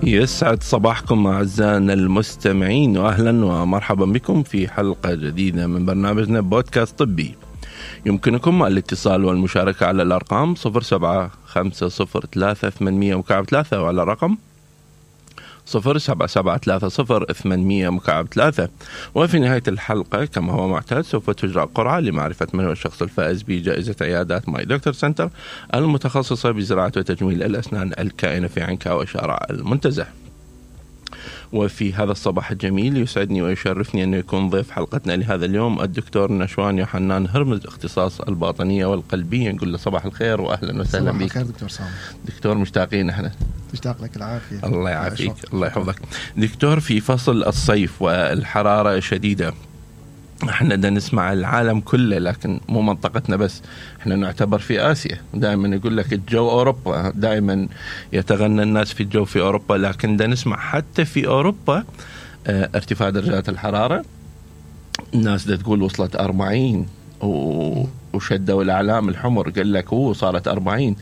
يسعد صباحكم أعزائنا المستمعين، وأهلا ومرحبا بكم في حلقة جديدة من برنامجنا بودكاست طبي. يمكنكم الاتصال والمشاركة على الأرقام 07503800 وعلى رقم 07730800. وفي نهاية الحلقة كما هو معتاد سوف تجرى قرعة لمعرفة من هو الشخص الفائز بجائزة عيادات ماي دكتور سنتر المتخصصة بزراعة وتجميل الأسنان الكائنة في عنكاو وشارع المنتزه. وفي هذا الصباح الجميل يسعدني ويشرفني أن يكون ضيف حلقتنا لهذا اليوم الدكتور نشوان يوحنان هرمز، اختصاص الباطنية والقلبية. نقول له صباح الخير وأهلا وسهلا بك. صباح الخير دكتور سامي. دكتور مشتاقين احنا. مشتاق لك العافية. الله يعافيك الله يحفظك. دكتور، في فصل الصيف والحرارة شديدة، احنا دا نسمع العالم كله، لكن مو منطقتنا بس، احنا نعتبر في آسيا. دائما يقول لك الجو أوروبا، دائما يتغنى الناس في الجو في أوروبا، لكن دا نسمع حتى في أوروبا ارتفاع درجات الحرارة. الناس دا تقول وصلت 40 وشدوا الأعلام الحمر، قال لك صارت 40.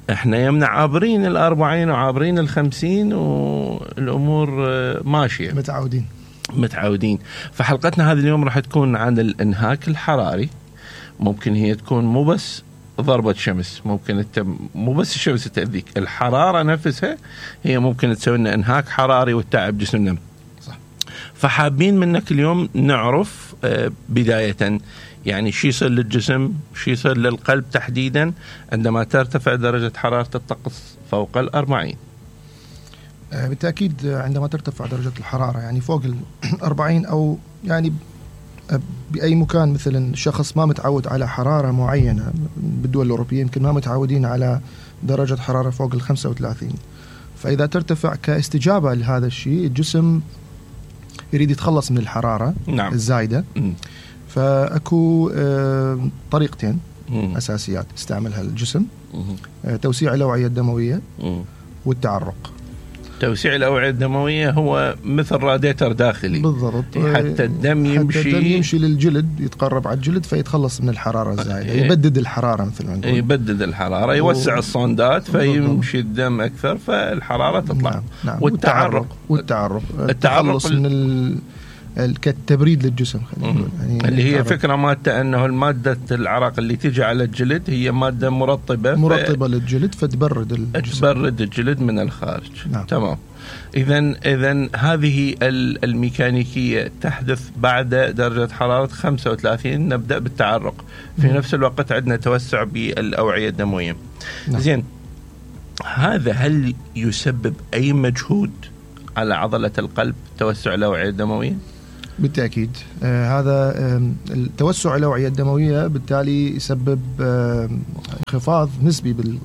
احنا يمنع عابرين 40 وعابرين 50 والأمور ماشية، متعودين. فحلقتنا هذه اليوم راح تكون عن الانهاك الحراري. ممكن هي تكون مو بس ضربة شمس، ممكن مو بس الشمس تأذيك، الحرارة نفسها هي ممكن تسوي لنا انهاك حراري وتعب جسمنا. صح. فحابين منك اليوم نعرف بداية يعني شو يصير للجسم، شو يصير للقلب تحديدا عندما ترتفع درجة حرارة الطقس فوق 40. بالتأكيد عندما ترتفع درجة الحرارة يعني فوق 40 أو يعني بأي مكان، مثلا شخص ما متعود على حرارة معينة بالدول الأوروبية، يمكن ما متعودين على درجة حرارة فوق 35، فإذا ترتفع كاستجابة لهذا الشيء الجسم يريد يتخلص من الحرارة نعم. الزايدة. فأكو طريقتين أساسيات استعملها الجسم: توسيع الأوعية الدموية والتعرق. توسيع الأوعية الدموية هو مثل راديتر داخلي بالضبط، حتى الدم يمشي للجلد، يتقرب على الجلد فيتخلص من الحرارة الزايدة، يبدد الحرارة مثل ما نقول، يبدد الحرارة، يوسع الصندات فيمشي الدم أكثر فالحرارة تطلع. نعم. والتعرق التخلص من كالتبريد للجسم، يعني اللي هي فكرة مادة أنه المادة العرق اللي تيجي على الجلد هي مادة مرطبة للجلد فتبرد الجسم، تبرد الجلد من الخارج. نعم. تمام. إذن هذه الميكانيكية تحدث بعد درجة حرارة 35. نبدأ بالتعرق، في نفس الوقت عندنا توسع بالأوعية الدموية. نعم. زين، هذا هل يسبب أي مجهود على عضلة القلب توسع الأوعية الدموية؟ بالتأكيد. هذا التوسع الأوعية الدموية بالتالي يسبب انخفاض نسبي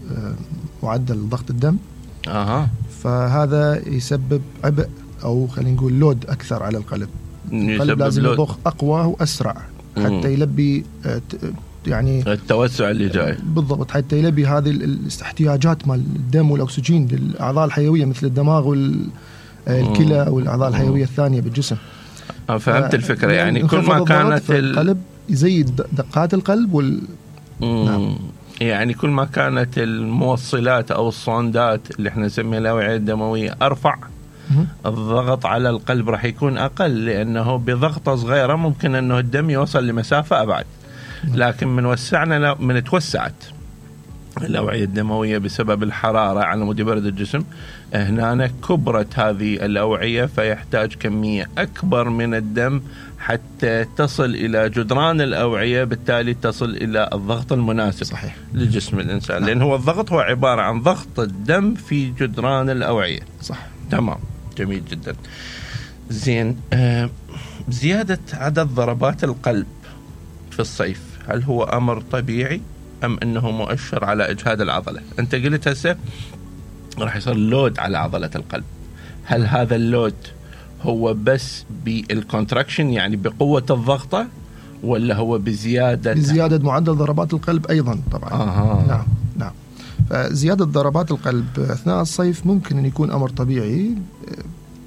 بمعدل ضغط الدم. فهذا يسبب عبء أو خلينا نقول لود أكثر على القلب. القلب لازم يضخ أقوى وأسرع حتى يلبي يعني التوسع اللي جاي. بالضبط، حتى يلبي هذه الاحتياجات مال الدم والأكسجين للأعضاء الحيوية مثل الدماغ والكلى والأعضاء الحيوية الثانية بالجسم. فهمت الفكرة. يعني كل ما كانت القلب يزيد دقات القلب نعم. يعني كل ما كانت الموصلات أو الصندات اللي احنا نسميها الأوعية الدموية أرفع، الضغط على القلب راح يكون أقل، لأنه بضغطة صغيرة ممكن أنه الدم يوصل لمسافة أبعد. لكن من توسعت الأوعية الدموية بسبب الحرارة على مود برد الجسم، هنا كبرت هذه الأوعية فيحتاج كمية أكبر من الدم حتى تصل إلى جدران الأوعية، بالتالي تصل إلى الضغط المناسب. صحيح. لجسم الإنسان. لأن هو الضغط هو عبارة عن ضغط الدم في جدران الأوعية. صح. تمام، جميل جدا. زين، زيادة عدد ضربات القلب في الصيف هل هو أمر طبيعي أم أنه مؤشر على إجهاد العضلة؟ أنت قلت هسه راح يصير لود على عضلة القلب، هل هذا اللود هو بس بالكونتراكشن يعني بقوة الضغطة، ولا هو بزيادة معدل ضربات القلب أيضا طبعا؟ نعم. فزيادة ضربات القلب أثناء الصيف ممكن أن يكون أمر طبيعي.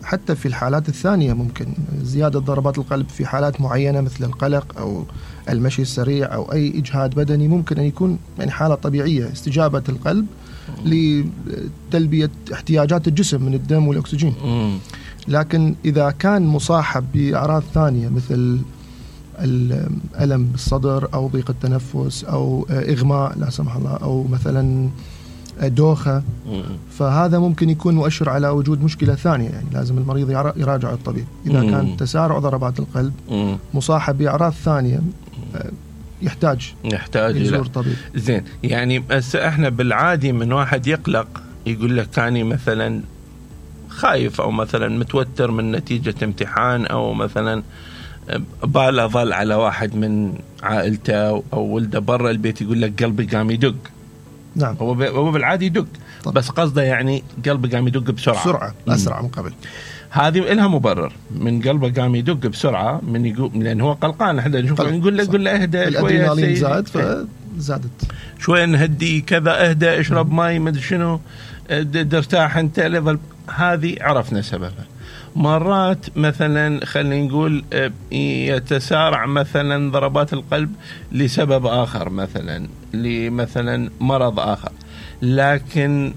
حتى في الحالات الثانية ممكن زيادة ضربات القلب في حالات معينة مثل القلق أو المشي السريع أو أي إجهاد بدني، ممكن أن يكون يعني حالة طبيعية، استجابة القلب لتلبية احتياجات الجسم من الدم والأكسجين. لكن إذا كان مصاحب بأعراض ثانية مثل الألم بالصدر أو ضيق التنفس أو إغماء لا سمح الله أو مثلا دوخة، فهذا ممكن يكون مؤشر على وجود مشكلة ثانية. يعني لازم المريض يراجع الطبيب. إذا كان تسارع ضربات القلب مصاحب بأعراض ثانية يحتاج يزور طبيب. زين، يعني احنا بالعادي من واحد يقلق يقول لك كاني مثلا خايف او مثلا متوتر من نتيجة امتحان، او مثلا باله ظل على واحد من عائلته او ولده برا البيت يقول لك قلبي قام يدق. نعم، هو بالعادي يدق طبعا. بس قصده يعني قلبي قام يدق بسرعة أسرع من قبل. هذه لها مبرر من قلبه قام يدق بسرعة، من يقول لأن هو قلقان. احنا نقول له اهدى شوية، زاد فزادت شوية، نهدي كذا، اهدى، اشرب ماي، مدري شنو، ارتاح انت لظل. هذه عرفنا سببها. مرات مثلا خلينا نقول يتسارع مثلا ضربات القلب لسبب آخر، مثلا مرض آخر. لكن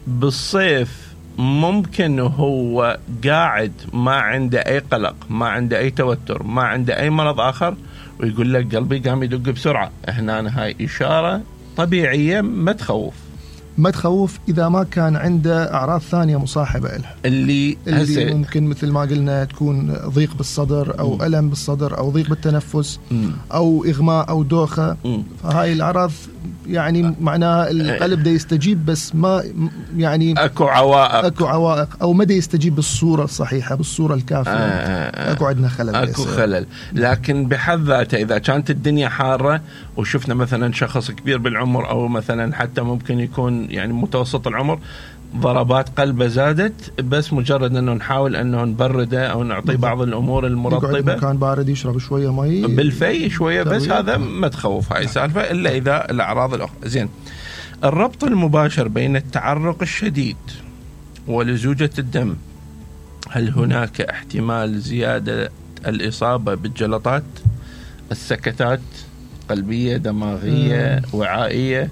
بالصيف ممكن هو قاعد ما عنده أي قلق، ما عنده أي توتر، ما عنده أي مرض آخر، ويقول لك قلبي قام يدق بسرعة. هنا هاي إشارة طبيعية ما تخوف إذا ما كان عنده أعراض ثانية مصاحبة لها، اللي ممكن مثل ما قلنا تكون ضيق بالصدر أو ألم بالصدر أو ضيق بالتنفس أو إغماء أو دوخة. فهاي الأعراض يعني معناها القلب ده يستجيب، بس ما يعني أكو عوائق أو ما ده يستجيب بالصورة الصحيحة، بالصورة الكافية. أكو عندنا خلل. لكن بحد ذاته إذا كانت الدنيا حارة وشفنا مثلا شخص كبير بالعمر أو مثلا حتى ممكن يكون يعني متوسط العمر، ضربات قلبه زادت، بس مجرد انه نحاول انه نبرده او نعطيه بعض الامور المرطبه، يقعد مكان بارد، يشرب شويه مي بالفي شويه، بس هذا ما تخوف هاي السالفه الا اذا الاعراض الاخرى. زين، الربط المباشر بين التعرق الشديد ولزوجة الدم، هل هناك احتمال زياده الاصابه بالجلطات، السكتات قلبية، دماغيه، وعائيه،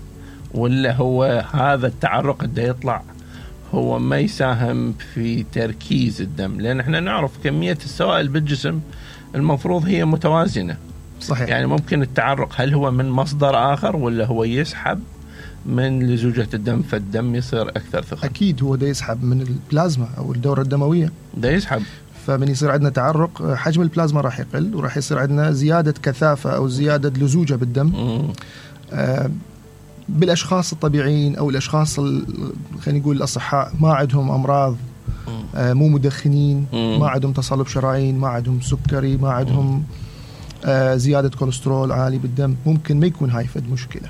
ولا هو هذا التعرق اللي يطلع هو ما يساهم في تركيز الدم؟ لأن احنا نعرف كمية السوائل بالجسم المفروض هي متوازنة. صحيح. يعني ممكن التعرق هل هو من مصدر آخر ولا هو يسحب من لزوجة الدم فالدم يصير أكثر ثقل؟ أكيد هو ده يسحب من البلازما أو الدورة الدموية، ده يسحب. فمن يصير عندنا تعرق حجم البلازما راح يقل، وراح يصير عندنا زيادة كثافة أو زيادة لزوجة بالدم. بالأشخاص الطبيعيين أو الأشخاص خلينا نقول الأصحاء ما عندهم أمراض، مو مدخنين، ما عندهم تصلب شرايين، ما عندهم سكري، ما عندهم زيادة كوليسترول عالي بالدم، ممكن ما يكون هاي فد مشكلة.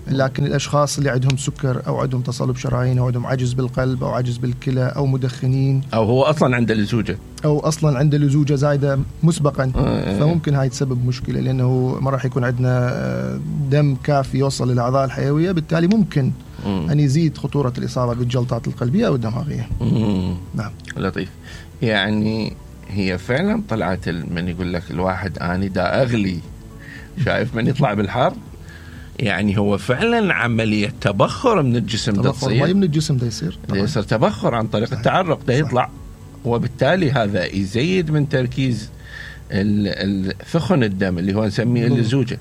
لكن الأشخاص اللي عندهم سكر أو عندهم تصلب شرايين أو عندهم عجز بالقلب أو عجز بالكلى أو مدخنين أو هو أصلا عنده لزوجة أو أصلا عنده لزوجة زايدة مسبقا، فممكن هاي تسبب مشكلة، لأنه ما راح يكون عندنا دم كافي يوصل للأعضاء الحيوية، بالتالي ممكن أن يزيد خطورة الإصابة بالجلطات القلبية أو الدماغية. نعم، لطيف. يعني هي فعلا طلعت من يقول لك الواحد أنا دا أغلي، شايف من يطلع بالحر، يعني هو فعلا عملية تبخر من الجسم، تبخر مي من الجسم ده يصير تبخر عن طريق التعرق ده يطلع، وبالتالي هذا يزيد من تركيز ثخن الدم اللي هو نسميه اللزوجة.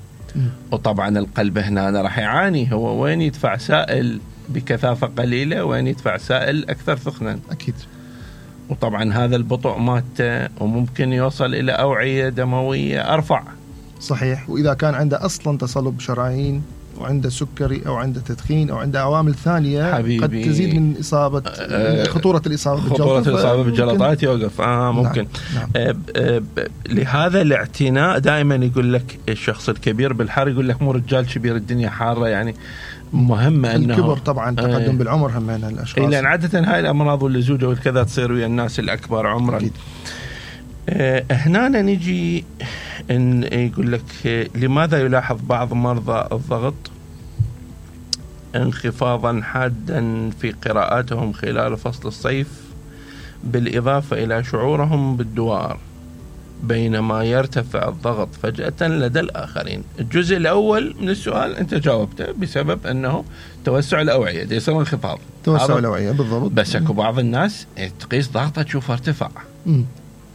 وطبعا القلب هنا راح يعاني، هو وين يدفع سائل بكثافة قليلة وين يدفع سائل أكثر ثخنا. أكيد. وطبعا هذا البطء مات وممكن يوصل إلى أوعية دموية أرفع. صحيح. وإذا كان عنده أصلا تصلب شرايين وعنده سكري أو عنده تدخين أو عنده عوامل ثانية قد تزيد من إصابة خطورة الإصابة بالجلطات يوقف. ممكن. نعم. لهذا الاعتناء دائما يقول لك الشخص الكبير بالحر، يقول لك مو رجال كبير الدنيا حارة، يعني مهمة أنه الكبر طبعا تقدم بالعمر هم من الأشخاص، لأن عادة هاي الأمراض واللزوجة والكذا تصير ويا الناس الأكبر عمرا. أكيد. هنا نجي إن يقول لك لماذا يلاحظ بعض مرضى الضغط انخفاضا حادا في قراءاتهم خلال فصل الصيف، بالإضافة إلى شعورهم بالدوار بينما يرتفع الضغط فجأة لدى الآخرين. الجزء الأول من السؤال أنت جاوبته بسبب أنه توسع الأوعية دي يصير انخفاض توسع الأوعية بالضبط. بس اكو بعض الناس تقيس ضغطه تشوفه ارتفع.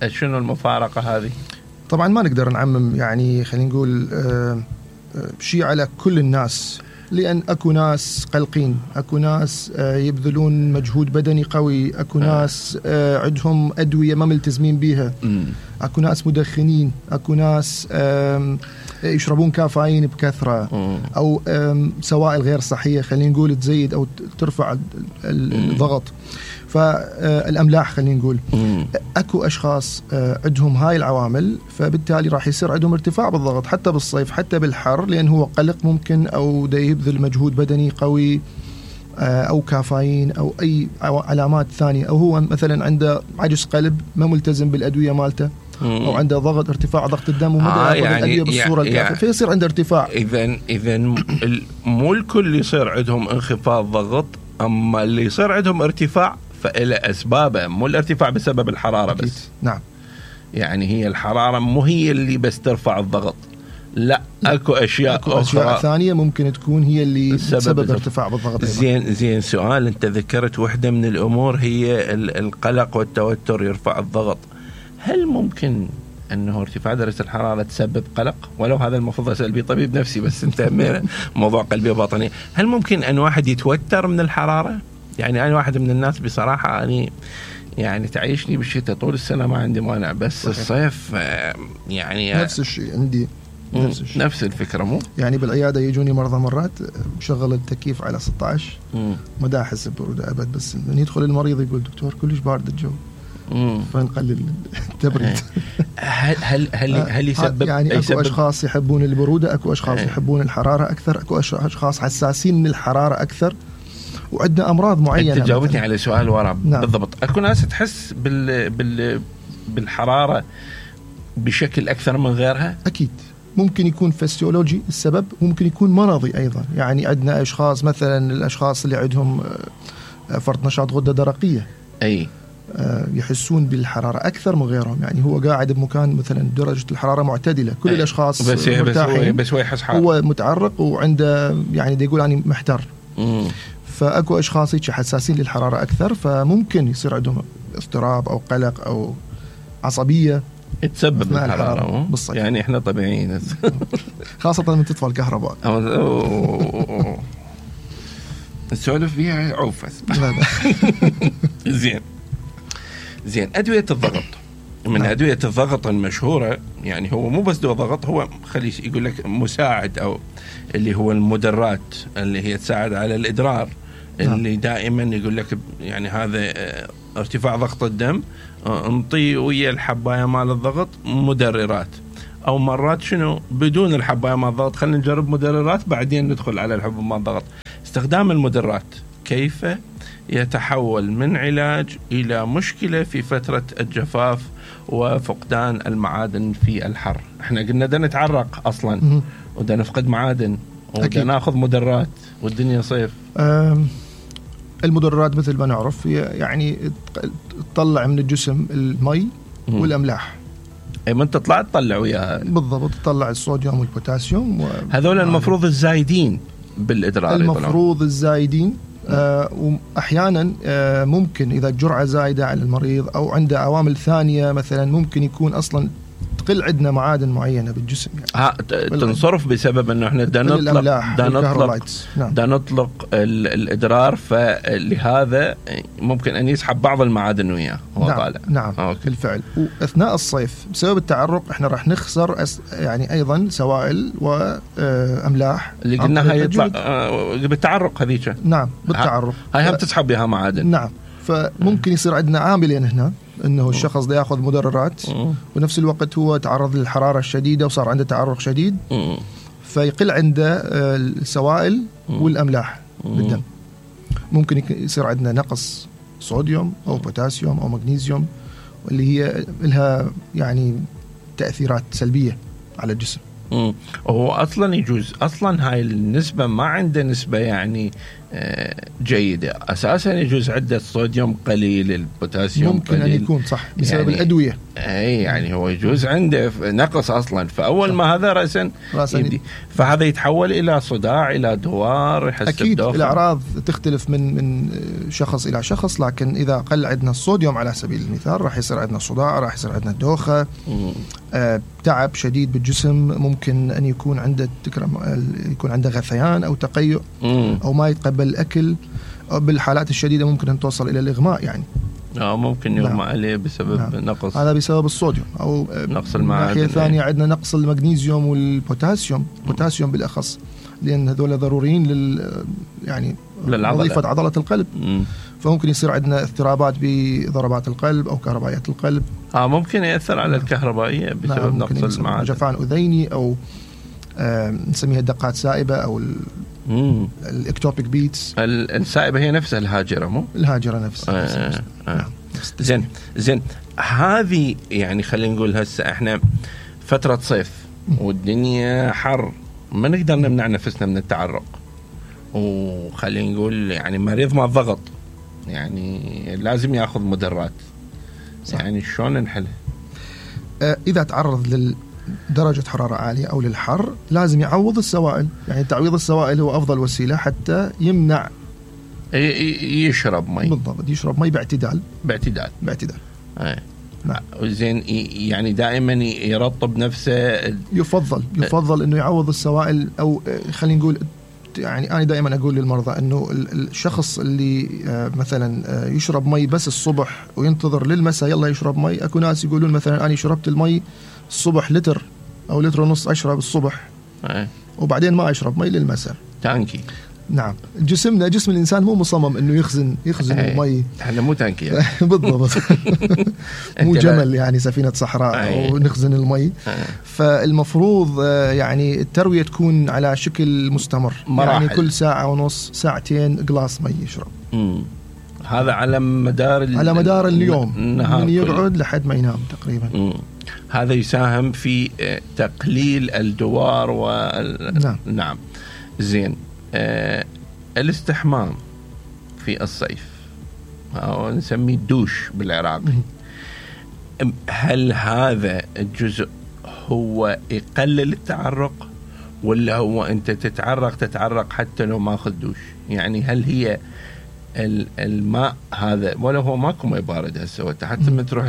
شنو المفارقة هذه؟ طبعا ما نقدر نعمم، يعني خلينا نقول شيء على كل الناس، لأن أكو ناس قلقين، أكو ناس يبذلون مجهود بدني قوي، أكو ناس عندهم أدوية ما ملتزمين بيها، أكو ناس مدخنين، أكو ناس يشربون كافيين بكثرة، أو سوائل غير صحية خلينا نقول تزيد أو ترفع الضغط، فالأملاح خلينا نقول. أكو أشخاص عندهم هاي العوامل، فبالتالي راح يصير عندهم ارتفاع بالضغط حتى بالصيف حتى بالحر، لأن هو قلق ممكن أو دا يبذل مجهود بدني قوي أو كافيين أو أي علامات ثانية، أو هو مثلا عنده عجز قلب ما ملتزم بالأدوية مالته، أو عنده ضغط ارتفاع ضغط الدم وما ياخذ الأدوية بالصورة الكافية، فيصير عنده ارتفاع. إذا مو الكل يصير عندهم انخفاض ضغط، أما اللي يصير عندهم ارتفاع فإلى أسبابه، مو الارتفاع بسبب الحرارة أكيد. بس. نعم، يعني هي الحرارة مو هي اللي بس ترفع الضغط، لا أكو أشياء أشياء ثانية ممكن تكون هي اللي تسبب ارتفاع بالضغط. زين سؤال، أنت ذكرت واحدة من الأمور هي القلق والتوتر يرفع الضغط. هل ممكن أنه ارتفاع درجة الحرارة تسبب قلق؟ ولو هذا المفروض أسأل بيه طبيب نفسي، بس أنت موضوع قلبي وباطني. هل ممكن أن واحد يتوتر من الحرارة؟ يعني أنا واحد من الناس بصراحة يعني تعيشني بالشتاء طول السنة ما عندي مانع، بس صحيح. الصيف يعني نفس الشيء عندي، نفس الفكرة. مو يعني بالعيادة يجوني مرضى مرات مشغل التكييف على 16 ما دا أحس ببرودة أبد، بس من يدخل المريض يقول دكتور كلش بارد الجو، فنقلل التبريد. هل يسبب يعني اكو اشخاص يحبون البروده، اكو اشخاص يحبون الحراره اكثر، اكو اشخاص حساسين من الحراره اكثر، وعندنا امراض معينه. انت جاوبتني على سؤال ورا. نعم. بالضبط. اكو ناس تحس بالحراره بشكل اكثر من غيرها. اكيد ممكن يكون فسيولوجي السبب، ممكن يكون مرضي ايضا. يعني عندنا اشخاص مثلا الاشخاص اللي عندهم فرط نشاط غده درقيه، اي يحسون بالحرارة أكثر من غيرهم. يعني هو قاعد بمكان مثلا درجة الحرارة معتدلة، كل الأشخاص مرتاحين، بس هو يحس حار، هو متعرق وعنده يعني دي يقول أنا محتر. فأكو أشخاص حساسين للحرارة أكثر، فممكن يصير عندهم اضطراب أو قلق أو عصبية تسبب الحرارة بالصيف. يعني إحنا طبيعيين خاصة لما تطفى الكهرباء نسولف فيها عوفس. زين أدوية الضغط، من أدوية الضغط المشهورة، يعني هو مو بس دواء ضغط، هو خلي يقول لك مساعد، أو اللي هو المدرات اللي هي تساعد على الإدرار، اللي دائما يقول لك يعني هذا ارتفاع ضغط الدم، انطي ويا الحباية مال الضغط مدررات، أو مرات شنو بدون الحباية مال الضغط خلينا نجرب مدررات بعدين ندخل على الحب مال الضغط. استخدام المدرات كيف يتحول من علاج إلى مشكلة في فترة الجفاف وفقدان المعادن في الحر. احنا قلنا دا نتعرق أصلا ودا نفقد معادن ودا ناخذ مدرات والدنيا صيف. المدرات مثل ما نعرف يعني تطلع من الجسم المي والأملاح. أي ما انت تطلع تطلع وياها بالضبط، تطلع الصوديوم والبوتاسيوم هذول المفروض الزايدين بالإدرار، المفروض الزايدين. وأحيانا ممكن إذا جرعة زايدة على المريض أو عنده عوامل ثانية مثلا ممكن يكون أصلا تقل عندنا معادن معينة بالجسم، يعني تنصرف بسبب أنه احنا دا نطلق الإدرار، فلهذا ممكن أن يسحب بعض المعادن وياه هو طالع. نعم بالفعل. وأثناء الصيف بسبب التعرق احنا راح نخسر يعني أيضا سوائل وأملاح اللي قلناها يطلع بالتعرق هذيك. نعم بالتعرق هاي هم تسحب بها معادن. نعم، فممكن يصير عندنا عاملين هنا، انه الشخص ده ياخذ مدررات ونفس الوقت هو تعرض للحراره الشديده وصار عنده تعرق شديد، فيقل عنده السوائل والاملاح بالدم. ممكن يصير عندنا نقص صوديوم او بوتاسيوم او مغنيسيوم، واللي هي لها يعني تاثيرات سلبيه على الجسم. هو اصلا يجوز اصلا هاي النسبه ما عنده نسبه يعني جيده، اساسا يجوز عده الصوديوم قليل، البوتاسيوم ممكن قليل، ان يكون صح بسبب يعني الادويه. اي يعني هو يجوز عنده نقص اصلا، فاول ما هذا راسا يبدي، فهذا يتحول الى صداع، الى دوار، يحس اكيد بدوخة. الاعراض تختلف من شخص الى شخص، لكن اذا قل عندنا الصوديوم على سبيل المثال راح يصير عندنا صداع، راح يصير عندنا دوخه، تعب شديد بالجسم، ممكن ان يكون عنده غثيان او تقيؤ، او ما يتقبل الاكل، بالحالات الشديده ممكن ان توصل الى الاغماء يعني. ممكن يغمى عليه بسبب نقص، هذا بسبب الصوديوم، او نقص المعادن. ناحية ثانية عندنا نقص المغنيسيوم والبوتاسيوم، البوتاسيوم بالاخص، لان هذول ضروريين يعني وظيفة عضلة القلب. فممكن يصير عندنا اضطرابات بضربات القلب او كهربائيات القلب. ممكن ياثر على الكهربائيه بسبب نقص المعادن، جفان اذيني، او نسميها الدقات سائبه، او الاكتوبيك بيتس. السائبه هي نفسها الهاجره، مو الهاجره نفسها. زين هذه يعني خلينا نقول هسه احنا فتره صيف والدنيا حر، ما نقدر نمنع نفسنا من التعرق، وخلينا نقول يعني مريض مع الضغط يعني لازم ياخذ مدرات. صح. يعني شلون نحلها؟ اذا تعرض درجة حرارة عالية أو للحر لازم يعوض السوائل، يعني تعويض السوائل هو أفضل وسيلة حتى يمنع يشرب مي. بالضبط، يشرب مي باعتدال. نعم. زين يعني دائما يرطب نفسه. يفضل إنه يعوض السوائل، أو خلينا نقول يعني أنا دائما أقول للمرضى إنه الشخص اللي مثلا يشرب مي بس الصبح وينتظر للمساء يلا يشرب مي، أكو ناس يقولون مثلا أنا شربت المي الصبح لتر أو لتر ونص أشرب الصبح وبعدين ما أشرب مي للمساء. تانكي. نعم، جسم الإنسان مو مصمم إنه يخزن المي. احنا مو تانكي يعني. بالضبط. مو جمل يعني سفينة صحراء ونخزن المي. فالمفروض يعني التروية تكون على شكل مستمر، مراحل. يعني كل ساعة ونص ساعتين قلاص مي يشرب. هذا على مدار اليوم، من يقعد لحد ما ينام تقريبا. هذا يساهم في تقليل الدوار نعم. زين الاستحمام في الصيف أو نسميه الدوش بالعراقي، هل هذا الجزء هو يقلل التعرق، ولا هو أنت تتعرق حتى لو ما أخذ دوش؟ يعني هل هي الماء هذا، ولا هو ماكو ماء بارد هسه حتى ما تروح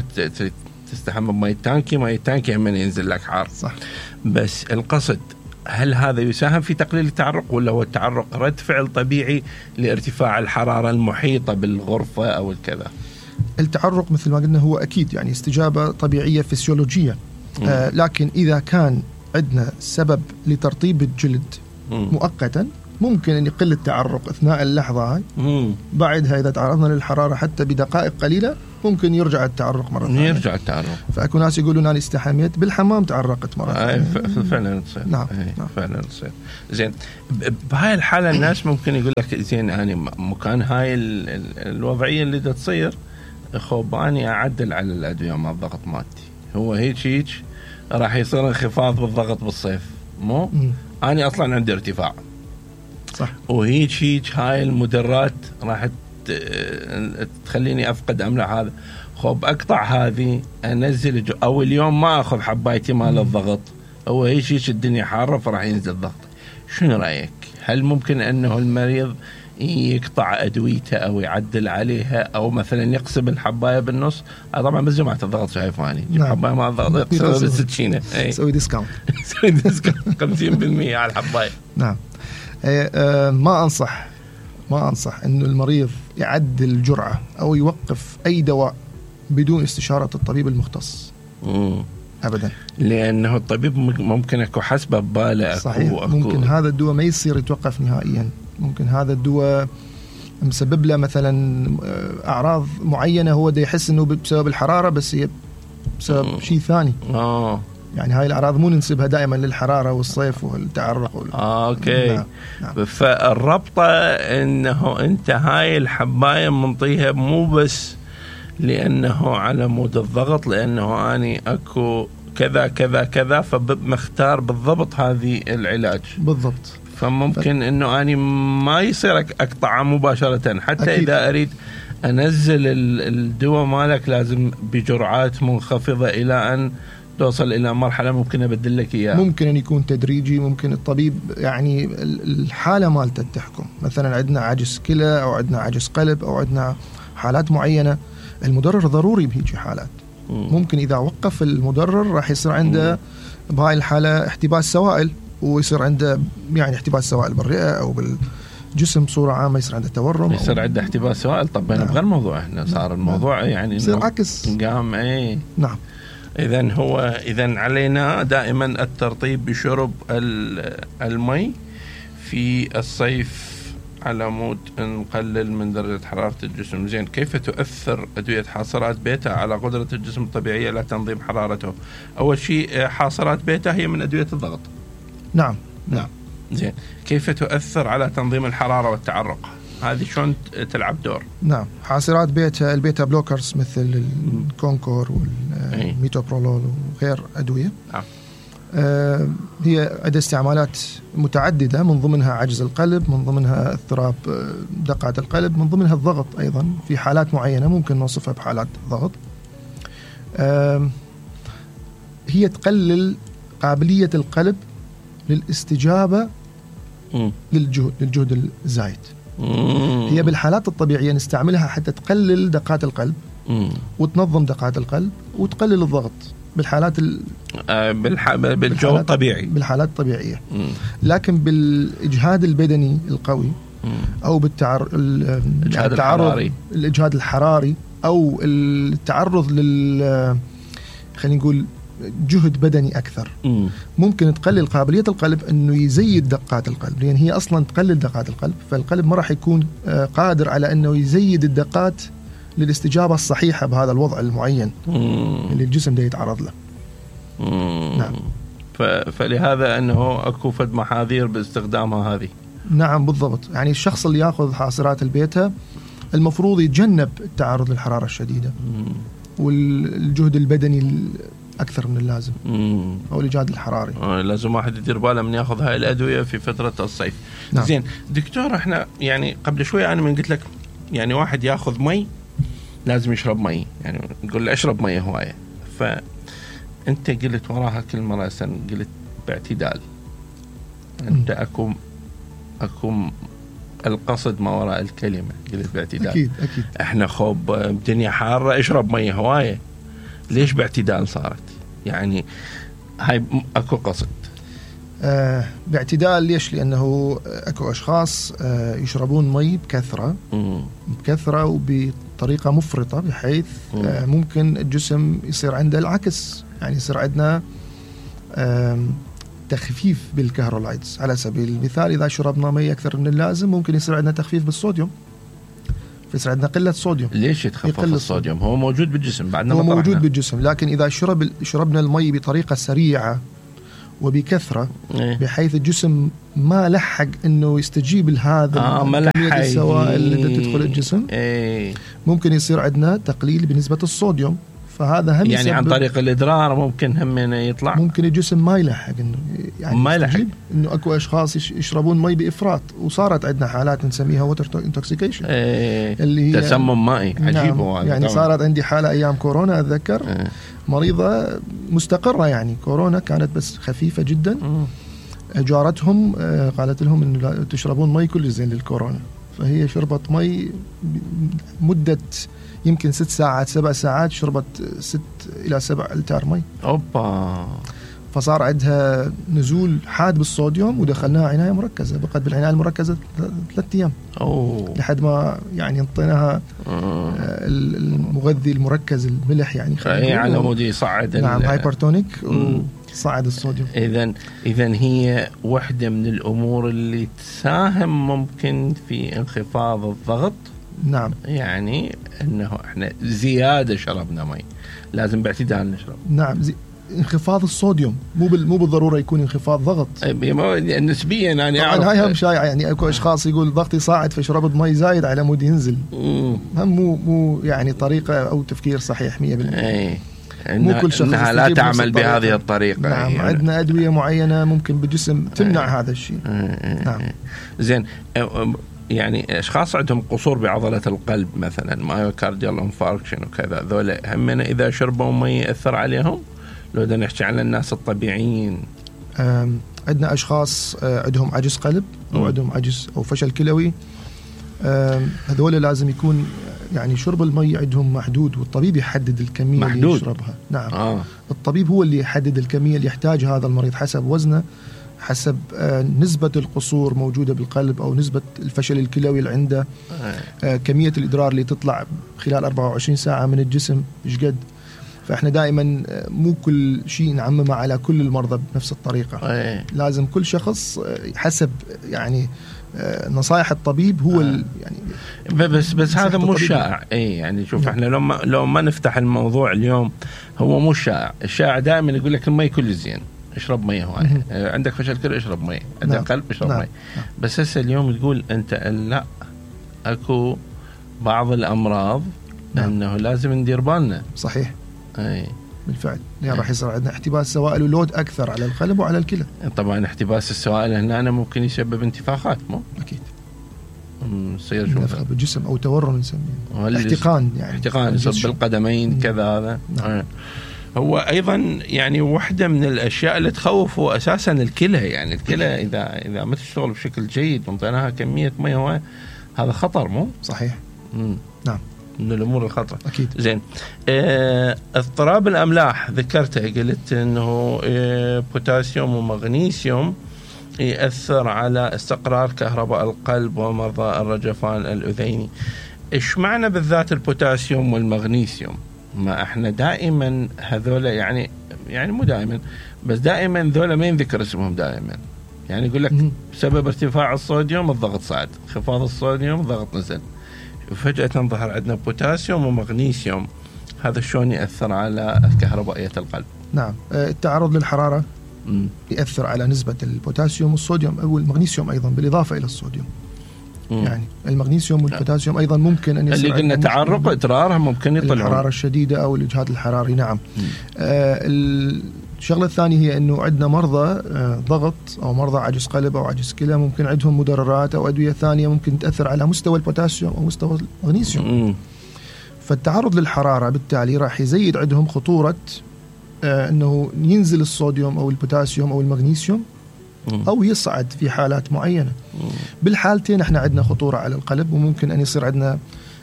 تستحمى بماء التانكي هم ينزل لك حار. صح. بس القصد هل هذا يساهم في تقليل التعرق، ولا هو التعرق رد فعل طبيعي لارتفاع الحرارة المحيطة بالغرفة أو الكذا؟ التعرق مثل ما قلنا هو أكيد يعني استجابة طبيعية فسيولوجية، لكن إذا كان عندنا سبب لترطيب الجلد مؤقتا ممكن أن يقل التعرق أثناء اللحظة هاي. بعدها إذا تعرضنا للحرارة حتى بدقائق قليلة ممكن يرجع التعرق مرة ثانية. فأكو ناس يقولون أنا استحميت بالحمام تعرقت مرة ثانية. فعلا تصير. نعم. فعلا تصير. زين بهاي الحالة الناس ممكن يقول لك زين أنا مكان هاي الوضعية اللي تصير خوباني أعدل على الأدوية مع الضغط مالتي، هو هيك راح يصير انخفاض بالضغط بالصيف، مو أنا أصلا عندي ارتفاع. صح. وهيك هاي المدرات راح تخليني أفقد أملح هذا، خب أقطع هذه أنزل أو اليوم ما أخذ حبايتي مال الضغط، هو هيك الدنيا حارة فراح ينزل ضغط. شنو رأيك؟ هل ممكن أنه المريض يقطع أدويته أو يعدل عليها، أو مثلا يقسم الحباية بالنص؟ طبعا بس جماعة الضغط شايفاني حباية مع الضغط يقسم بالسكينة، سوي ديسكاونت 50% على الحباية. نعم. ما أنصح أنه المريض يعدل الجرعة أو يوقف أي دواء بدون استشارة الطبيب المختص. أبدا، لأنه الطبيب ممكن أكو حسبه بباله. صحيح. ممكن هذا الدواء ما يصير يتوقف نهائيا، ممكن هذا الدواء مسبب له مثلا أعراض معينة هو ده يحس أنه بسبب الحرارة، بس هي بسبب شيء ثاني. يعني هاي الأعراض مو ننسبها دائما للحرارة والصيف والتعرق أوكي. نعم. فالربطة إنه أنت هاي الحباية منطيها مو بس لأنه على مود الضغط، لأنه أني أكو كذا كذا كذا فمختار بالضبط هذه العلاج بالضبط. فممكن إنه أني ما يصير أقطعها مباشرة حتى أكيد. إذا أريد انزل الدواء مالك لازم بجرعات منخفضه الى ان توصل الى مرحله ممكن ابدل لك اياها. ممكن ان يكون تدريجي، ممكن الطبيب يعني الحاله مالته تحكم. مثلا عندنا عجز كلى او عندنا عجز قلب او عندنا حالات معينه المدرر ضروري بهيجي حالات. ممكن اذا وقف المدرر راح يصير عنده بهاي الحاله احتباس سوائل، ويصير عنده يعني احتباس سوائل بالرئه او بالجسم بصوره عامه، يصير عنده تورم، يصير عنده احتباس سوائل. طب بغير الموضوع احنا صار الموضوع يعني يصير عكس قام. نعم. إذن علينا دائما الترطيب بشرب المي في الصيف على مود نقلل من درجة حرارة الجسم. زين، كيف تؤثر أدوية حاصرات بيتا على قدرة الجسم الطبيعية على تنظيم حرارته؟ أول شيء حاصرات بيتا هي من أدوية الضغط. نعم. زين، كيف تؤثر على تنظيم الحرارة والتعرق؟ هذه شلون تلعب دور؟ نعم، حاصرات بيتا، البيتا بلوكرز مثل الكونكور والميتوبرولول وغير أدوية. نعم. هي عدة استعمالات متعددة، من ضمنها عجز القلب، من ضمنها اضطراب دقات القلب، من ضمنها الضغط أيضا في حالات معينة ممكن نوصفها بحالات ضغط. هي تقلل قابلية القلب للاستجابة للجهد الزايد. هي بالحالات الطبيعية نستعملها حتى تقلل دقات القلب وتنظم دقات القلب وتقلل الضغط بالحالات بالجو الطبيعي، بالحالات الطبيعية. لكن بالإجهاد البدني القوي أو الإجهاد الحراري أو التعرض خلينا نقول جهد بدني أكثر، ممكن تقلل قابلية القلب أنه يزيد دقات القلب، لأن هي أصلا تقلل دقات القلب، فالقلب ما راح يكون قادر على أنه يزيد الدقات للاستجابة الصحيحة بهذا الوضع المعين اللي الجسم ده يتعرض له. نعم. فلهذا أنه أكو فد محاذير باستخدامها هذه. نعم بالضبط. يعني الشخص اللي يأخذ حاصرات البيتا المفروض يتجنب التعرض للحرارة الشديدة والجهد البدني أكثر من اللازم أو الإجهاد الحراري. لازم واحد يدير باله من يأخذ هاي الأدوية في فترة الصيف. نعم. زين دكتور، احنا يعني قبل شوي أنا من قلت لك يعني واحد يأخذ مي لازم يشرب مي، يعني نقول له اشرب مي هواية، فأنت قلت وراها كلمة رأسا، قلت باعتدال. أنت أكو القصد ما وراء الكلمة، قلت باعتدال. أكيد. احنا خوب الدنيا حارة، اشرب مي هواية. ليش باعتدال صارت؟ يعني هاي اكو قصد. باعتدال ليش؟ لأنه اكو أشخاص يشربون مي بكثرة وبطريقة مفرطة، بحيث ممكن الجسم يصير عنده العكس، يعني يصير عندنا تخفيف بالكهرولايتس. على سبيل المثال إذا شربنا مي أكثر من اللازم ممكن يصير عندنا تخفيف بالصوديوم، فيصير عندنا قلة صوديوم. ليش يتخفف الصوديوم؟ هو موجود بالجسم بعدنا، هو موجود بالجسم، لكن إذا شربنا المي بطريقة سريعة وبكثرة بحيث الجسم ما لحق إنه يستجيب لهذا كمية السوائل اللي تدخل الجسم، ممكن يصير عندنا تقليل بنسبة الصوديوم. فهذا هم يعني عن طريق الإدرار ممكن هم يطلع، ممكن الجسم ما يلحق إنه يعني ما يلحق. إنه أكو أشخاص يشربون مي بإفراط، وصارت عندنا حالات نسميها ووتر انتوكسيكيشن اللي هي تسمم مائي. عجيب. نعم. يعني صارت عندي حالة أيام كورونا أتذكر، مريضة مستقرة، يعني كورونا كانت بس خفيفة جدا. جارتهم قالت لهم إنه تشربون مي كل زين للكورونا، فهي شربت مي مدة يمكن 6 ساعات 7 ساعات، شربت 6 إلى 7 لتر مي. أوبا. فصار عندها نزول حاد بالصوديوم، ودخلناها عناية مركزة، بقت بالعناية المركزة 3 أيام لحد ما يعني انطيناها المغذي المركز الملح، يعني على مود يصعد. نعم، هايبرتونيك وصعد الصوديوم. إذن هي واحدة من الأمور اللي تساهم ممكن في انخفاض الضغط. نعم. يعني انه احنا زياده شربنا مي، لازم باعتدال نشرب. نعم، انخفاض الصوديوم مو بالضروره يكون انخفاض ضغط. نسبيا يعني هاي هم شائعه، يعني اكو اشخاص يقول ضغطي صاعد فشربت مي زايد على مود ينزل. هم مو يعني طريقه او تفكير صحيح 100%. مو كل شخص انها لا تعمل بهذه الطريقه. نعم، يعني عندنا ادويه معينه ممكن بالجسم تمنع هذا الشيء. نعم. زين، يعني اشخاص عندهم قصور بعضله القلب مثلا مايوكارديال انفاركشن وكذا، ذولا هم اذا شربوا مي ياثر عليهم؟ لو بدنا نحكي عن الناس الطبيعيين، عندنا اشخاص عندهم عجز قلب او عندهم عجز او فشل كلوي، هذول لازم يكون يعني شرب المي عندهم محدود، والطبيب يحدد الكميه محدود. اللي يشربها. نعم. الطبيب هو اللي يحدد الكميه اللي يحتاجها هذا المريض حسب وزنه، حسب نسبة القصور موجودة بالقلب أو نسبة الفشل الكلوي اللي عنده، كمية الإدرار اللي تطلع خلال 24 ساعة من الجسم إيش قد. فإحنا دائما مو كل شيء نعممه على كل المرضى بنفس الطريقة. لازم كل شخص حسب يعني نصائح الطبيب هو يعني بس هذا مو شائع. يعني شوف احنا لو ما نفتح الموضوع اليوم، هو مو شائع. الشائع دائما يقول لك المي كل زين، اشرب مي هواي، عندك فشل كلى اشرب مي، عندك قلب اشرب مي. بس هسه اليوم تقول انت لا، اكو بعض الامراض انه لازم ندير بالنا. صحيح. بالفعل يعني راح يصير عندنا احتباس سوائل ولود اكثر على القلب وعلى الكلى. طبعا احتباس السوائل هنا ممكن يسبب انتفاخات، مو اكيد يصير نفخ بالجسم او تورم نسميه احتقان، يعني احتقان يصير بالقدمين كذا. هذا هو ايضا يعني واحده من الاشياء اللي تخوف هو اساسا الكلى. يعني الكلى اذا ما تشتغل بشكل جيد وانطيناها كميه مي، هذا خطر، مو صحيح؟ نعم، من الامور الخطر. اكيد. زين، اضطراب الاملاح ذكرته، قلت انه بوتاسيوم ومغنيسيوم يأثر على استقرار كهرباء القلب ومرضى الرجفان الأذيني. إيش معنى بالذات البوتاسيوم والمغنيسيوم؟ ما احنا دائما هذولا يعني مو دائما، بس دائما ذولا ما ينذكر اسمهم دائما. يعني يقول لك بسبب ارتفاع الصوديوم الضغط صعد، انخفاض الصوديوم الضغط نزل، وفجأة ظهر عندنا بوتاسيوم ومغنيسيوم. هذا شلون يأثر على كهربائية القلب؟ نعم، التعرض للحرارة يأثر على نسبة البوتاسيوم والصوديوم أو المغنيسيوم أيضا بالإضافة إلى الصوديوم. يعني المغنيسيوم والبوتاسيوم أيضا ممكن أن يصير اللي قلنا تعرق إدرارها ممكن يطلعون الحرارة الشديدة أو الإجهاد الحراري. نعم. الشغلة الثانية هي أنه عندنا مرضى ضغط أو مرضى عجز قلب أو عجز كلى ممكن عندهم مدررات أو أدوية ثانية ممكن تأثر على مستوى البوتاسيوم أو مستوى المغنيسيوم. فالتعرض للحرارة بالتالي راح يزيد عندهم خطورة أنه ينزل الصوديوم أو البوتاسيوم أو المغنيسيوم أو يصعد في حالات معينة. بالحالتين احنا عندنا خطورة على القلب، وممكن أن يصير عندنا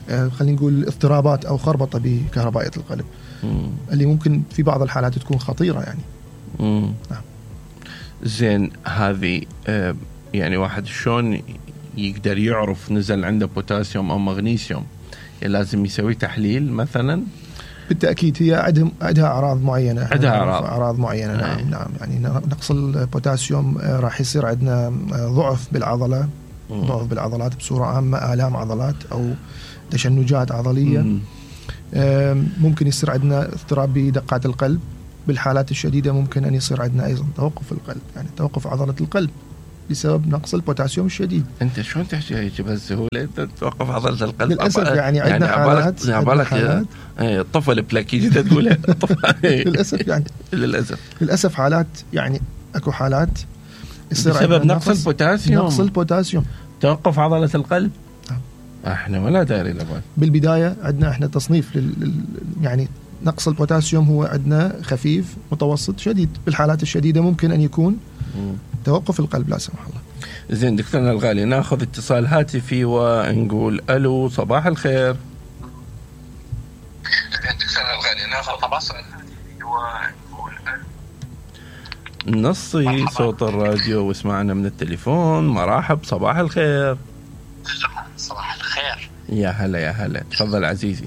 خلينا نقول اضطرابات أو خربطة بكهربائية القلب اللي ممكن في بعض الحالات تكون خطيرة يعني. نعم. زين، هذه يعني واحد شلون يقدر يعرف نزل عنده بوتاسيوم أو مغنيسيوم؟ يعني لازم يسوي تحليل مثلا؟ بالتأكيد هي عندها أعراض معينة. عندها أعراض معينة. نعم. نعم، يعني نقص البوتاسيوم راح يصير عندنا ضعف بالعضلة، ضعف بالعضلات بصورة عامة، آلام عضلات أو تشنجات عضلية. ممكن يصير عندنا اضطراب بدقات القلب. بالحالات الشديدة ممكن أن يصير عندنا أيضا توقف القلب، يعني توقف عضلة القلب بسبب نقص البوتاسيوم الشديد. انت شلون تحكي هيك بهالسهوله؟ انت توقف عضله القلب للاسف. يعني عندنا حالات عبالك الطفل بلاكي تقولها للاسف حالات، يعني اكو حالات يصير بسبب نقص البوتاسيوم توقف عضله القلب. احنا ولا داري لبال. بالبدايه عندنا احنا تصنيف يعني نقص البوتاسيوم هو عندنا خفيف، متوسط، شديد. بالحالات الشديده ممكن ان يكون توقف القلب لا سمح الله. زين دكتورنا الغالي، ناخذ اتصال هاتفي ونقول الو، صباح الخير. دكتورنا الغالي، ناخذ اتصال هاتفي ونقول نصي صوت الراديو واسمعنا من التليفون. مرحب، صباح الخير. صباح الخير. يا هلا يا هلا، تفضل عزيزي.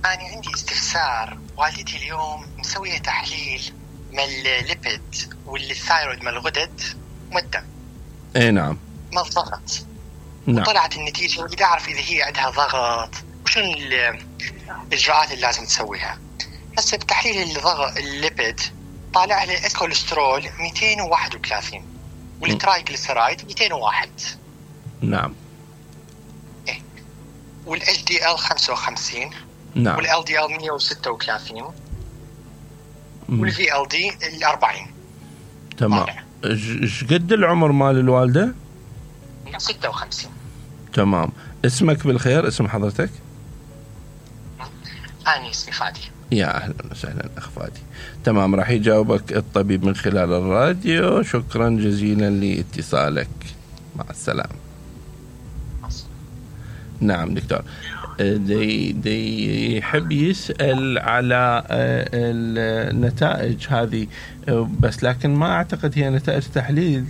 أنا عندي استفسار. والدتي اليوم مسوية تحليل من الليبيد والثايرويد من الغدد والدم. اي نعم. ما الضغط. نعم. طلعت النتيجة، بدي أعرف إذا هي عندها ضغط وشو الإجراءات اللي لازم تسويها. هسه بتحليل الضغط الليبيد طالع لها الكوليسترول 231 والترايجليسيرايد 201. نعم. إيه. والاتش دي ال 55. نعم. والال دي ال 136 والفي ال دي 40. تمام. ايش قد العمر مال الوالده؟ 56. تمام. اسمك بالخير، اسم حضرتك؟ أنا اسمي فادي. يا أهلا وسهلا أخ فادي. تمام، راح يجاوبك الطبيب من خلال الراديو. شكرا جزيلا لاتصالك، مع السلامة. نعم دكتور، دي يحب يسأل على النتائج هذه، بس لكن ما أعتقد هي نتائج تحليل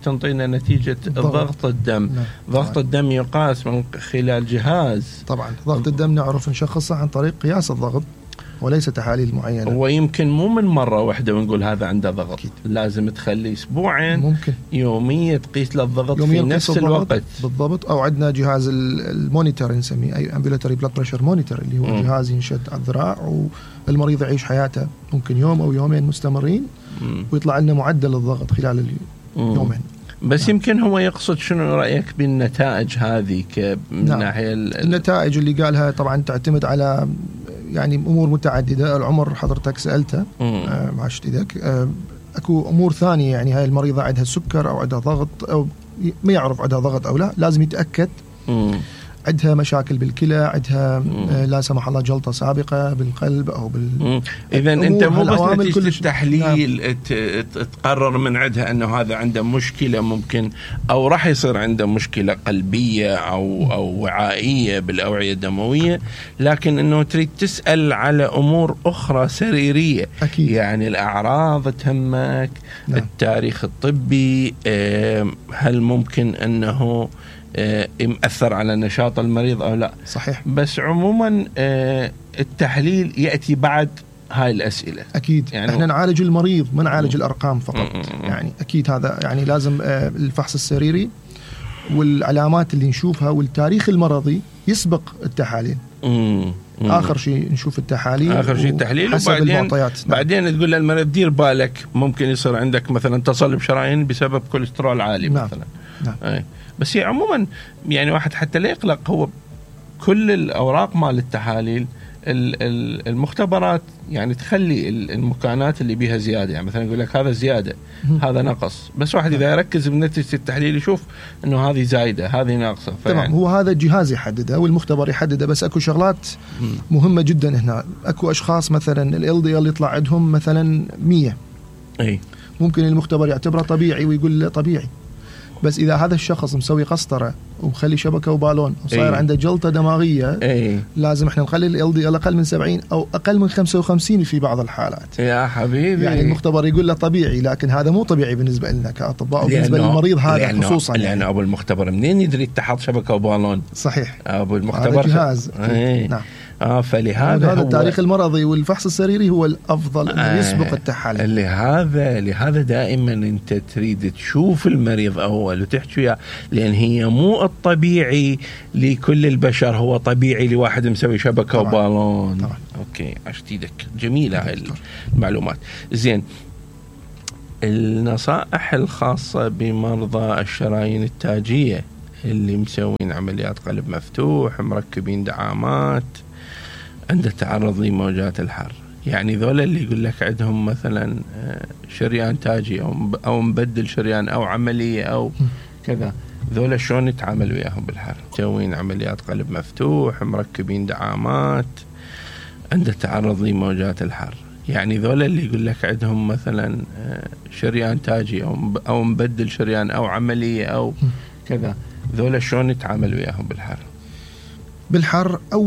تنطينا نتيجة ضغط الدم. ضغط الدم يقاس من خلال جهاز. طبعا ضغط الدم نعرف نشخصه عن طريق قياس الضغط وليس تحاليل معينة. ويمكن مو من مرة واحدة ونقول هذا عنده ضغط. أكيد. لازم تخلي أسبوعين ممكن يوميا تقيس له الضغط في نفس الوقت بالضبط. أو عندنا جهاز المونيتور نسميه أي ambulatory blood pressure monitor، اللي هو جهاز ينشد على الذراع والمريض يعيش حياته ممكن يوم أو يومين مستمرين ويطلع لنا معدل الضغط خلال اليومين. بس يمكن هو يقصد شنو رأيك بالنتائج هذه من ناحية النتائج اللي قالها طبعا تعتمد على يعني أمور متعددة. العمر حضرتك سألته مع اشتداك، أكو أمور ثانية، يعني هاي المريضة عندها سكر أو عندها ضغط أو ما يعرف عندها ضغط أو لا، لازم يتأكد. عندها مشاكل بالكلى، عندها لا سمح الله جلطة سابقة بالقلب أو إذا أنت مو بس نتيجة التحليل تقرر من عندها أنه هذا عنده مشكلة ممكن أو راح يصير عنده مشكلة قلبية أو وعائية بالأوعية الدموية، لكن أنه تريد تسأل على أمور أخرى سريرية. أكيد. يعني الأعراض تهمك. التاريخ الطبي، هل ممكن أنه يأثر على نشاط المريض أو لا. صحيح. بس عموما التحليل يأتي بعد هاي الأسئلة. أكيد. يعني احنا نعالج المريض ما نعالج الأرقام فقط. يعني أكيد هذا يعني لازم الفحص السريري والعلامات اللي نشوفها والتاريخ المرضي يسبق التحاليل. آخر شيء نشوف التحاليل، آخر شيء التحليل، بعدين تقول للمريض دير بالك ممكن يصير عندك مثلا تصلب شرايين بسبب كوليسترول عالي مثلا. نعم. بس هي عموما يعني واحد حتى لا يقلق، هو كل الأوراق مال التحاليل المختبرات يعني تخلي المكانات اللي بيها زيادة، يعني مثلا يقول لك هذا زيادة هذا نقص، بس واحد إذا يركز بنتيجة التحليل يشوف إنه هذه زايدة هذه ناقصة. تمام. هو هذا الجهاز يحدده والمختبر يحدده، بس أكو شغلات مهمة جدا هنا. أكو أشخاص مثلا ال LDL يطلع عندهم مثلا 100، ممكن المختبر يعتبره طبيعي ويقول له طبيعي، بس إذا هذا الشخص مسوي قسطرة ومخلي شبكة وبالون وصاير عنده جلطة دماغية، لازم احنا نخلي ال LDL أقل من 70 أو أقل من 55 في بعض الحالات. يا حبيبي، يعني المختبر يقول له طبيعي، لكن هذا مو طبيعي بالنسبة لنا كأطباء وبالنسبة للمريض هذا خصوصا. لأن أبو المختبر منين يدري اتحط شبكة وبالون؟ صحيح. أبو المختبر جهاز. نعم. فلهذا هذا التاريخ المرضي والفحص السريري هو الأفضل أن يسبق التحاليل. لهذا دائما أنت تريد تشوف المريض أول وتحكي وياه، لأن هي مو الطبيعي لكل البشر، هو طبيعي لواحد مسوي شبكة وبالون. طبعا. أوكي، عشتيدك جميلة هاي المعلومات. زين، النصائح الخاصة بمرضى الشرايين التاجية اللي مسوين عمليات قلب مفتوح، مركبين دعامات، عنده تعرض لموجات الحر، يعني ذولا اللي يقول لك عندهم مثلا شريان تاجي أو مبدل شريان أو عملية أو كذا، ذولا شلون نتعامل وياهم بالحر؟ مسوين عمليات قلب مفتوح، مركبين دعامات، عنده تعرض لموجات الحر، يعني ذولا اللي يقول لك عندهم مثلا شريان تاجي أو مبدل شريان أو عملية أو كذا، ذولا شلون نتعامل وياهم بالحر؟ بالحر أو